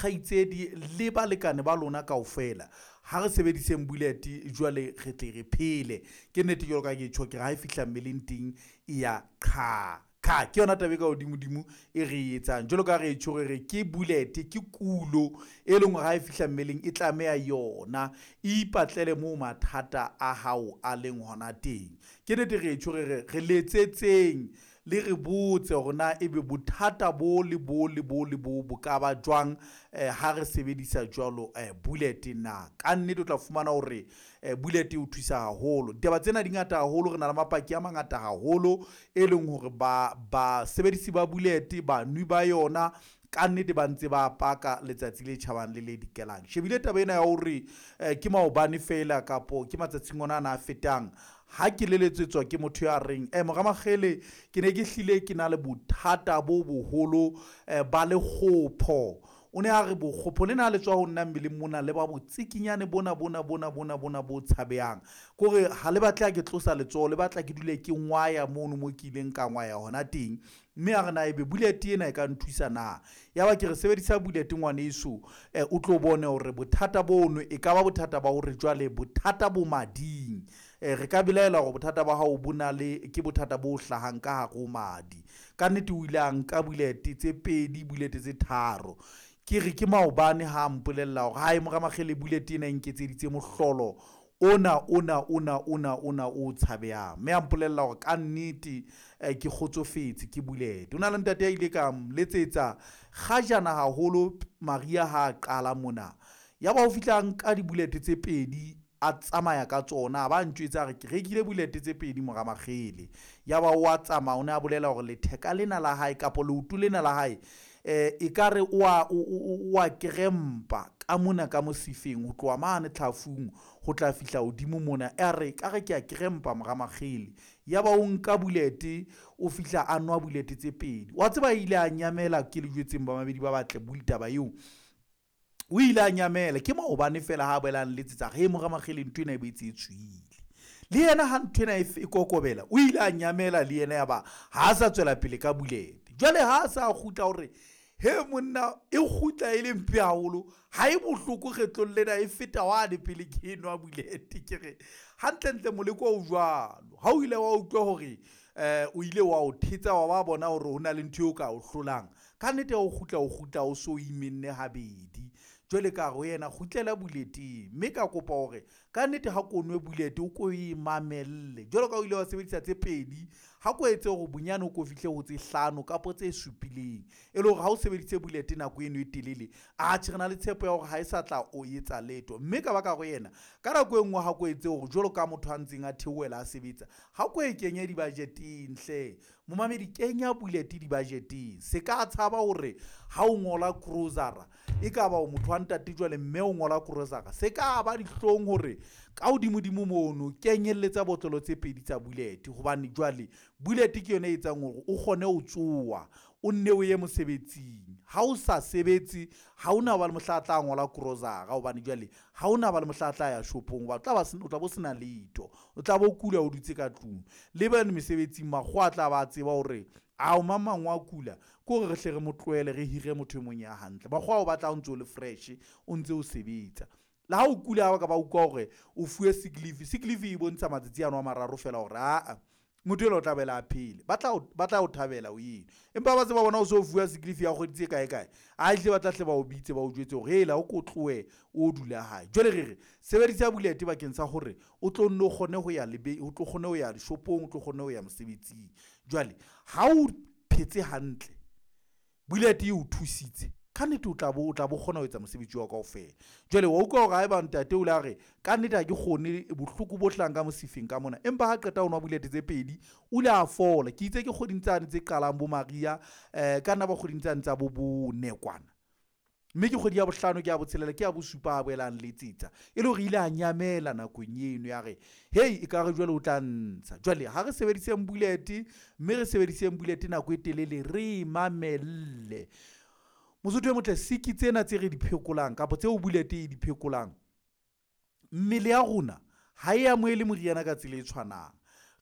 dikgaitsedi le balekane ba lona kaofela. Ha re sebediseng bullet jwale re tle re phele. Ke nnete jwalo ka ke tjho, ke re ha e fihla mmeleng teng e ya qha kha. Ke yona taba e ka hodimodimo e re e etsang. Jwalo ka ha re tjho, re re ke bullet, ke kulo e leng hore ha e fihla mmeleng e tlameha yona e ipatlele moo mathata a hao a leng hona teng. Ke nnete re tjho, re re re letsetseng le re botse hore na ebe bothata bo le bo le bo le bo bo ka ba jwang ha re sebedisa jwalo bullet na. Ka nnete o tla fumana hore bullet e o thusa haholo. Ditaba tsena di ngata haholo, re na le mapaki a mangata haholo e leng hore ba basebedisi ba bullet, banwi ba yona ka nnete ba ntse ba paka letsatsi le tjhabang le le dikelang. Shebile taba ena ya hore ke maobane feela kapo ke matsatsing ona ana a fetang, ha ke leletsetswa ke motho ya reng mora Makgele, ke ne ke hlile ke na le bothata bo boholo ba lekgopho. O ne a re bokgopho lena ha le tswa ho nna mmeleng mona le ba botsikinyane bona bona bona bona bona bo tshabehang. Ke hore ha le batle ha ke tlosa letsoho, le batla ke dule ke ngwaya mono mo ke ileng ka ngwaya hona teng. Mme a re na ebe bullet ena e ka nthusa na? Ya ba ke re sebedisa bullet ngwaneso, o tlo bone hore bothata bono e ka ba bothata ba hore jwale bothata bo mading. Re ka belaela hore bothata ba hao bo na le, ke bothata bo hlahang ka hare ho madi. Ka nnete o ile a nka bullet tse pedi, bullet tse tharo. Ke re ke maobane ha mpolella hore hae mora Makgele bullet ena e nketseditse mohlolo ona ona ona ona ona o tshabehang. Mme a mpolella hore ka nnete ke kgotsofetse ke bullet. Ho na le ntate a ile ka letsetsa kgajana haholo mariha ha a qala mona. Ya ba o fihla nka di-bullet tse pedi a tsamaya ka tsona, a ba ntjwetsa a re ke rekile bullet tse pedi mora Makgele. Ya ba wa tsamaya, o ne a bolela hore letheka lena la hae kapa leoto lena la hae ekare o wa kerempa ka mona ka mosifeng, ho tloha mane tlhafung ho tla fihla hodimo mona. A re ekare ke a kerempa mora Makgele. Ya ba o nka bullet, o fihla a nwa bullet tse pedi. Wa tseba ile a nyamela, ke le jwetseng bamamedi ba batle taba eo. O ile a nyamela, ke maobane feela ha a boela a nletsetsa re mora Makgele ntho ena e boetse e tswile. Le yena ha ntho ena e kokobela, o ile a nyamela le yena, ya ba ha a sa tswela pele ka bullet. Jwale ha a sa kgutla hore he monna e kgutla e le mpe haholo, ha e bohloko kgetlong lena e feta wane pele ke enwa bullet. Ke re hantlentle moleko o jwalo. Ha o ile wa utlwa hore o ile wa o thetsa, wa ba bona hore ho na le ntho eo ka o hlolang, ka nnete o kgutla, o kgutla o so imenne habedi. Jwale ka re ho yena kgutlela bullet-eng, mme ka kopa hore ka nnete ha ko nwe bullet o ko e mamelle. Jwalo ka o ile wa sebedisa tse pedi, ha ko etse hore bonyane o ko fihle ho tse hlano kapa tse supileng. E le hore ha o sebeditse bullet nako eno e telele, atjhe re na le tshepo ya hore ha e sa tla o etsa letho. Mme ka ba ka ho yena ka nako e nngwe ha ko etse hore jwalo ka motho a ntseng a theohela a sebetsa, ha ko e kenye di-budget-eng hle. Momamedi, kenya bullet di-budget-eng. Se ka tshaba hore ha o ngola grocery, e ka ba o motho wa ntate jwale mme o ngola grocery, se ka ba dihlong hore ka hodimodimo mono kenyelletsa botlolo tse pedi tsa bullet. Hobane jwale bullet ke yona e etsang hore o kgone ho tsoha, o nne o ye mosebetsing. Ha o sa sebetse, ha hona ba le mohla a tla ngola grocery, hobane jwale ha hona ba le mohla a tla ya shopong hoba o tla bo sena letho. O tla bo kula, o dutse ka tlung. Le bane mesebetsing makgowa a tla ba tseba hore ao mang mang wa kula, ke hore re hle re mo tlohele re hire motho e mong ya hantle. Makgowa ao batla o ntso le fresh, o ntse o sebetsa. Le ha o kula, ha ba ka ba utlwa hore o fuwe sick leave, sick leave e bontsha matsatsi ano a mararo feela hore aa motho enwa o tla boela a phele. Ba tla o thabela o eno. Empa ba se ba bona o so fuwa sick leave ya kgwedi tse kae kae, a hle ba tla hle ba o bitse ba o jwetse hore hela o ko tlohe o dula hae. Jwale re re sebedisa bullet bakeng sa hore o tlo nno kgone ho ya o tlo kgone ho ya dishopong, o tlo kgone ho ya mosebetsing. Jwale ha o phetse hantle, bullet e o thusitse, ka nnete o tla bo kgona ho etsa mosebetsi wa kaofela. Jwale wa utlwa hore haeba ntate o le a re ka nnete ha ke kgone bohloko bo hlahang ka mosifeng ka mona, empa ha qeta ho nwa bullet tse pedi o ile a fola. Ke itse ke kgweding tsane tse qalang bo mariha, ka nna ba kgweding tsane tsa bo bone kwana, mme ke kgwedi ya bohlano, ke ya botshelela, ke ya bosupa a boelang letsetsa, e le hore ile a nyamela nakong eno ya re hei ekare jwale o tla ntsha. Jwale ha re sebediseng bullet, mme re sebediseng bullet nako e telele, re e mamelle. Mosotho e motle, siki tsena tse re di phekolang kapa tseo bullet e di phekolang, mmele ya rona ha e amohele moriana ka tsela e tshwanang.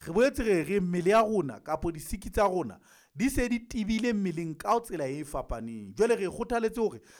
Re boetse re re mmele ya rona kapa disiki tsa rona di se di tebile mmeleng ka tsela e fapaneng. Jwale re kgothaletse hore